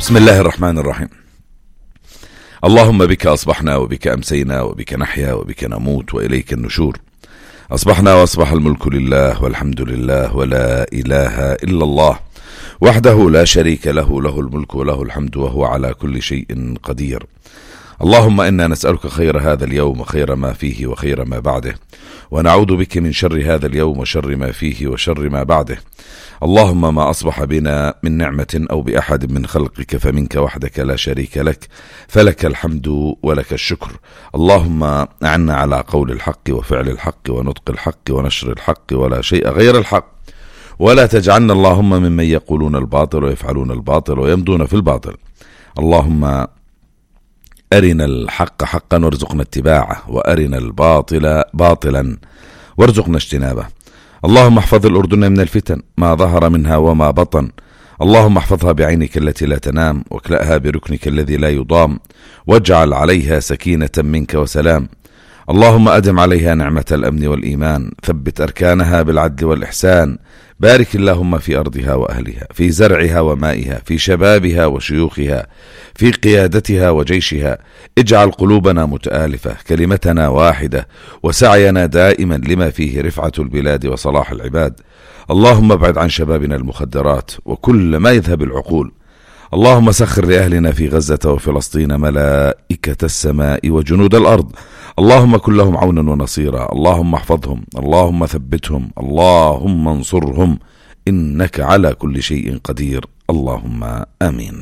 بسم الله الرحمن الرحيم. اللهم بك أصبحنا وبك أمسينا وبك نحيا وبك نموت وإليك النشور. أصبحنا وأصبح الملك لله والحمد لله ولا إله إلا الله وحده لا شريك له، له الملك وله الحمد وهو على كل شيء قدير. اللهم إنا نسألك خير هذا اليوم وخير ما فيه وخير ما بعده، ونعوذ بك من شر هذا اليوم وشر ما فيه وشر ما بعده. اللهم ما أصبح بنا من نعمة أو بأحد من خلقك فمنك وحدك لا شريك لك، فلك الحمد ولك الشكر. اللهم أعنا على قول الحق وفعل الحق ونطق الحق ونشر الحق ولا شيء غير الحق، ولا تجعلنا اللهم ممن يقولون الباطل ويفعلون الباطل ويمضون في الباطل. اللهم أرنا الحق حقا وارزقنا اتباعه، وأرنا الباطل باطلا وارزقنا اجتنابه. اللهم احفظ الأردن من الفتن ما ظهر منها وما بطن. اللهم احفظها بعينك التي لا تنام، واكلأها بركنك الذي لا يضام، واجعل عليها سكينة منك وسلام. اللهم أدم عليها نعمة الأمن والإيمان، ثبت أركانها بالعدل والإحسان. بارك اللهم في أرضها وأهلها، في زرعها ومائها، في شبابها وشيوخها، في قيادتها وجيشها. اجعل قلوبنا متآلفة، كلمتنا واحدة، وسعينا دائما لما فيه رفعة البلاد وصلاح العباد. اللهم ابعد عن شبابنا المخدرات وكل ما يذهب العقول. اللهم سخر لأهلنا في غزة وفلسطين ملائكة السماء وجنود الأرض. اللهم كن لهم عونا ونصيرا. اللهم احفظهم، اللهم ثبتهم، اللهم انصرهم، إنك على كل شيء قدير. اللهم آمين.